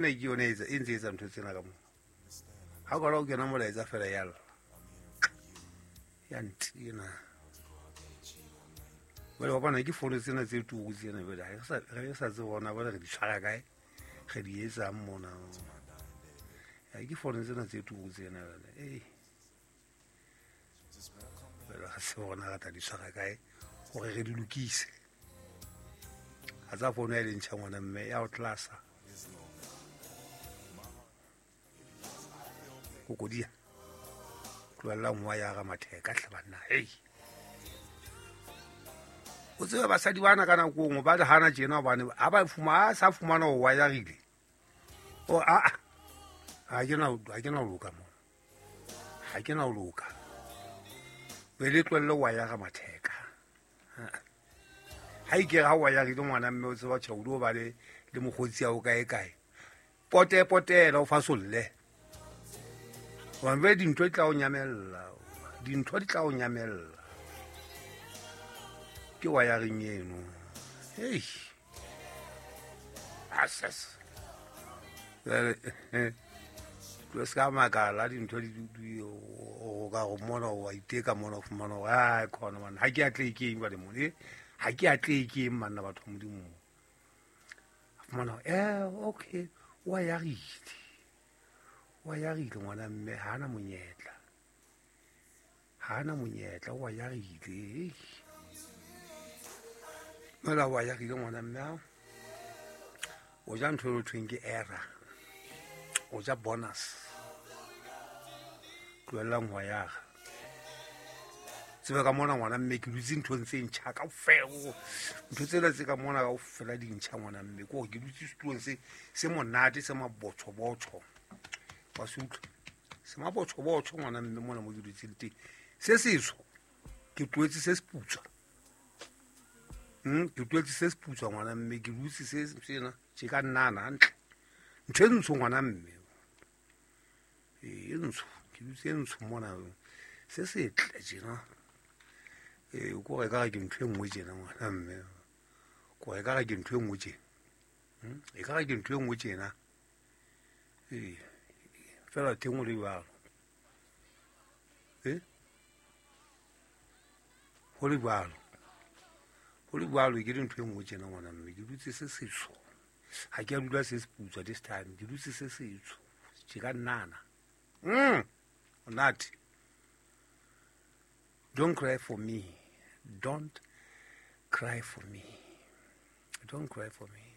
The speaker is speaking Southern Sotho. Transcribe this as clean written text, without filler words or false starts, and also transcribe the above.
Ke yone e ntse etsa ntho tsena ka moo. Ha o kala o kena molaetsa fela ya lla. Ya ntina. Jwale wa bona ke fono tsena tse turu tsena jwale ha re sa tsebe hore na jwale re di tshwara kae, re di etsang mona. Ya ke fono tsena tse turu tsena jwale. Ei. Jwale ga se hore na re tla di tshwara kae hore re di lokise. Ha tsa fono ya le ntjha ngwana mme ya o tlasa. Kokodia. Tlohella nngwa ya ga matheka hle banna. Hei. O tsebe basadi bana ka nako nngwe ba le hana tjena hobane ha ba fuma a sa fumana ho wayarile. O a ha ke na ha ke na ho loka mo. Ha ke na ho loka. Be le tlohelle wayara matheka. Ha ikere ha wayarile ngwana mme o tseba tjhaudi o ba le le mokgotsi ya o kae kae. Pote potela o fasolle. Hobane jwale dintho di tla o nyamella. Dintho di tla o nyamella. Ke wayaring eno. Hei. Asas. Jwale tlo se ka makala dintho di o ka go mona wa iteka mona o fumana hore ai khona man ha ke atlehe ke eng jwale mona eh ha ke atlehe ke eng manna batho ba Modimo. A fumana hore okay wa yarile. Wa yarile ngwana mme ha ana monyetla. Ha ana monyetla wa yarile. Mola wa yarile ngwana mme ao. O ja ntho e thweng ke error. O ja bonus. Tlohellang ho yara. Tsebe ka mona ngwana mme ke dutse nthong tse ntjha kaofela. Ntho tsena tse ka mona kaofela di ntjha ngwana mme. Ke hore ke dutse setulong se se monate se mabotjho-botjho. Wa se utlwa? Se mabotjho-botjho ngwana mme mona mo ke dutseng teng. Se setsho ke tlohetse se seputswa. Ke tlohetse se seputswa ngwana mme ke dutse se sena tje ka nnana hantle. Ntho e ntsho ngwana mme. E ntsho, ke dutse e ntsho mona. Se setle tjena. Ko re ka re ke ntho e nngwe tjena ngwana mme. Ko re ka re ke ntho e nngwe tjena. E ka re ke ntho e nngwe tjena. Fela teng o le jwalo. Ho le jwalo. Ho le jwalo ke ntho e nngwe tjena ngwana mme. Ke dutse se setsho. Ha ke a dula se seputswa this time. Ke dutse se setsho. Tje ka nnana. Monate. Don't cry for me. Don't cry for me. Don't cry for me.